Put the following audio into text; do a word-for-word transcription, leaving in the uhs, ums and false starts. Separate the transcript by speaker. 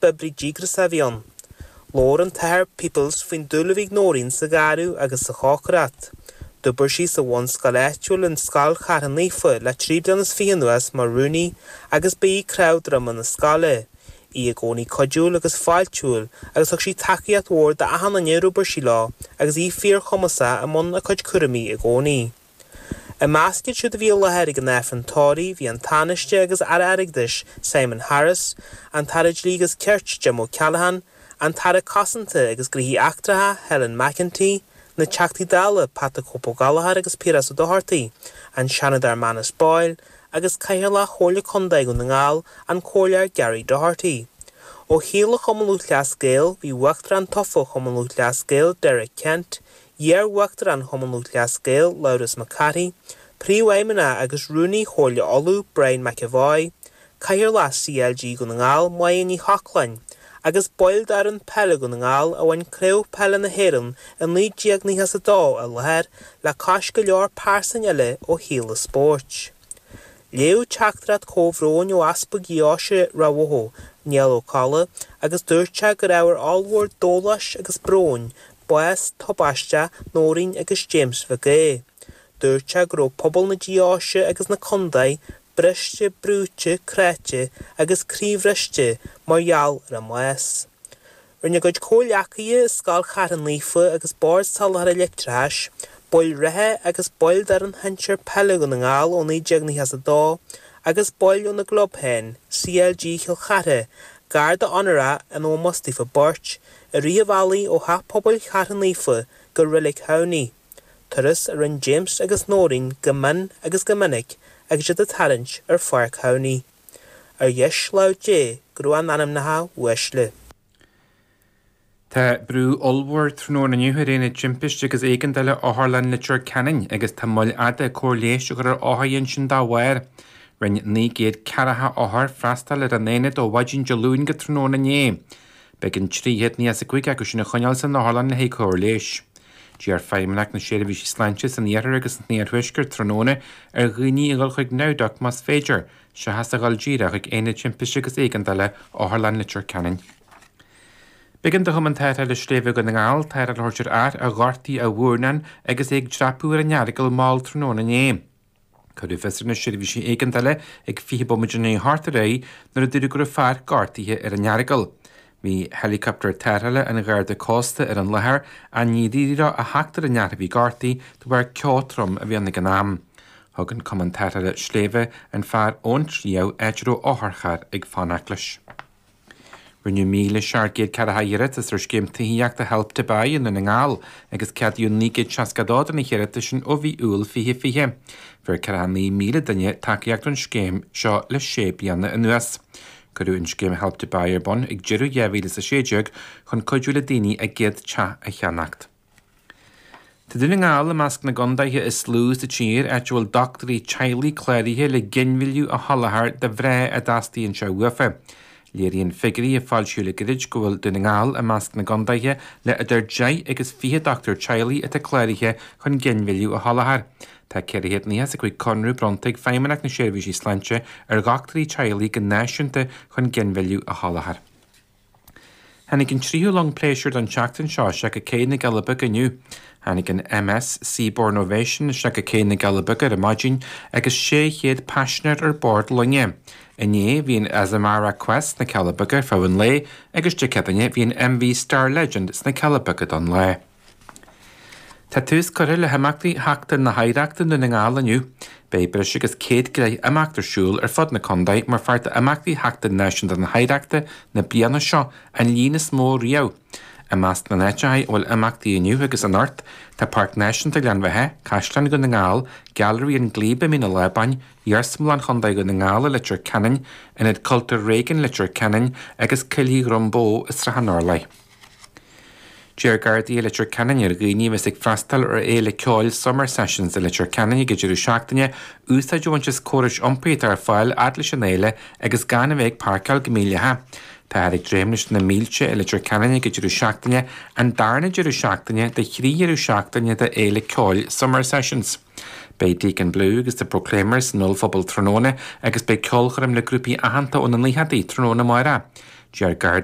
Speaker 1: B'oibrí díograiseach a bhí ann. Labhair an tAthair Peoples faoin dúil a bhí ag Nóirín sa ghearradh agus sa chócaireacht. D'oibir sí sa bhunscoil áitiúil an Scoil Chathair Naofa le trí bliana is fiche anuas mar rúnaí agus ba í cnámh droma na scoile. Í i gcónaí cuidiúil agus fáiltiúil agus thug sí tacaíocht mhór d'achan duine ar oibir sí leo agus í fíorchumasach i mbun a cuid cúraimí i gcónaí. I measc iad siúd a bhí i láthair ag an Aifreann tórraimh bhí an Tánaiste agus Aire Airgeadais Simon Harris, an tAire Dlí agus Cirt Jim O'Callaghan, an tAire Cosanta agus Gnóthaí Eachtracha Helen McEntee, na Teachtaí Dála Pat the Cope Ó Gallchóir agus Piaras Ó Dochartaigh, an Seanadóir Manus Boyle, agus Cathaoirleach Chomhairle Contae Dhún na nGall an Comhairleoir Gary Doherty. Ó theaghlach Chumann Lúthchleas Gael bhí Uachtarán tofa Chumann Lúthchleas Gael Derek Kent, iar-Uachtarán Chumann Lúthchleas Gael Labhrás Mac Cárthaigh, Príomhfheidhmeannach agus Rúnaí Chomhairle Uladh Brian McEvoy, Cathaoirleach CLG Dhún na nGall Máire Ní Chochláin, agus baill d'fhoireann peile Dhún na nGall a bhain Craobh Peile na hÉireann i naoi déag nócha a dó i láthair le cois go leor pearsan eile ó shaol an spóirt. Léadh teachtaireacht comhbhróin ó Easpag Dheoise Ráth Bhoth, Niall Ó Colla, agus dúirt sé gur ábhar ollmhór dóláis agus bróin bás tubaisteach Nóirín agus James Mhic Aoidh. Dúirt sé go raibh pobal na deoise agus na contae briste brúite cráite agus croíbhriste mar gheall ar a mbás. Rinne a gcuid comhghleacaithe i Scoil Chathair Naofa agus Bord Soláthair Leictreachais, baill reatha agus baill d'fhoireann shinsir peile Dhún na nGall ó naoi déag nócha a dó, agus baill óna gclub féin, CLG Chill Chartha, garda onórach in ómós daofa beirt, i rith an bhealaigh ó Theach Pobail Chathair Naofa go Reilig Thamhnaigh. Turas a rinne James agus Nóirín go mion agus go minic agus iad ag tarraingt ar Pháirc Thamhnaigh. Ar dheis lámh Dé go raibh a n-anamnacha uaisle.
Speaker 2: Tá brú ollmhór tráthnóna inniu ar aonad timpiste agus éigeandála Otharlann Leitir Ceanainn agus tá moill fhada cóir leighis a chur ar othair ansin dá bharr. Rinne naoi gcéad ceathracha othar freastal ar an aonad ó mhaidin Dé Luain go tráthnóna inné. B'éigean trí chéad nócha a cúig acu sin a choinneáil san otharlann le haghaidh cóir leighis. D'iarr Feidhmeannacht na Seirbhísí Sláinte san iarthar agus san iarthuaisceart tráthnóna ar dhaoine a dhul chuig NowDoc más féidir, seachas a dhul díreach chuig aonad timpiste agus éigeandála Otharlann Leitir Ceanainn. B'éigean do Chumann Tarrthála Sléibhe Dhún na nGall tarrtháil a thabhairt ar fhear a ghortaigh a mhurnán agus é ag dreapadh ar an Earagail mall tráthnóna inné. Cuireadh fios ar na seirbhísí éigeandála ag fiche bomaite i ndiaidh a hocht ar aghaidh nuair a dúradh go raibh fear gortaithe ar an Earagail. Bhí helicopter tarrthála an Gharda Cósta ar an láthair ach níor éirigh leo a theacht ar an fhear a bhí gortaithe de bharr ceo trom a bhí ann ag an am. Thug an Cumann Tarrthála Sléibhe an fear ón tsliabh áit a raibh otharcharr ag fanacht leis. Rinneadh míle seacht gcéad ceathracha iarratas ar scéim tithíochta Help to Buy i nDún na nGall agus ceadaíodh naoi gcéad seasca dó de na hiarratais sin ó mhí Iúil fiche fiche. Fuair ceathracha naoi míle duine tacaíocht ón scéim seo le sé bliana anuas. Cuireadh an scéim Help to Buy ar bun ag deireadh dhá mhíle is a sé déag chun cuidiú le daoine a gcéad teach a cheannacht. Tá Dún na nGall i measc na gcontaetha is lú sa tír áit a bhfuil dochtúirí teaghlaigh cláraithe le ginmhilleadh a sholáthar do mhná a dteastaíonn sé uafa. Léiríonn figiúirí a foilsíodh le gairid go bhfuil Dún na nGall i measc na gcontaetha le idir deich agus fiche dochtúir teaghlaigh atá cláraithe chun ginmhilleadh a sholáthar. Tá ceithre chéad nócha is a cúig conradh bronnta ag Feidhmeannacht na Seirbhísí Sláinte ar dhochtúirí teaghlaigh go náisiúnta chun ginmhilleadh a sholáthar. Tháinig an tríú long pléisiúir don tseachtain seo isteach go Cé na gCealla Beaga inniu. Tháinig an MS Seabourn Ovation isteach go Cé na gCealla Beaga ar maidin agus sé chéad paisinéir ar bord loinge. Inné bhí an Azamara Quest sna Cealla Beaga ar feadh an lae agus Dé Céadaoine bhí an MV Star Legend sna Cealla Beaga don lá. Tá tús curtha le himeachtaí Sheachtain na hOidhreachta i nDún na nGall inniu. Beidh breis agus céad go leith imeacht ar siúl ar fud na contae mar pháirt d'imeachtaí Sheachtain Náisiúnta na hOidhreachta na bliana seo an líon is mó riamh. I measc na n-áiteacha a bhfuil imeachtaí inniu agus anocht tá Páirc Náisiúnta Ghleann Bheatha, Caisleán Dhún na nGall, Gailearaí an Glebe i Mín an Lábáin, Iarsmalann Chontae Dhún na nGall i Leitir Ceanainn, Ionad Cultúir Reagan Leitir Ceanainn agus Coillidh Dhrombó i Srath an Orlaigh. D'iarr Gardaí i Leitir Ceanainn ar dhaoine a bheas ag freastal ar fhéile ceoil Summer Sessions i Leitir Ceanainn ag an deireadh seachtaine, úsáid a bhaint as córais iompair atá ar fáil fhad leis an fhéile agus gan a bheith ag páirceáil go míleata. Táthar ag dréim leis na mílte i Leitir Ceanainn ag an deireadh seachtaine, an darna deireadh seachtaine de thrí dheireadh seachtaine de fhéile ceoil Summer Sessions. Beidh Deacon Blue agus The Proclaimers san ollphuball tráthnóna agus beidh ceolchoirm le grúpaí aitheanta ó na naochadaí tráthnóna amárach. Deir Gardaí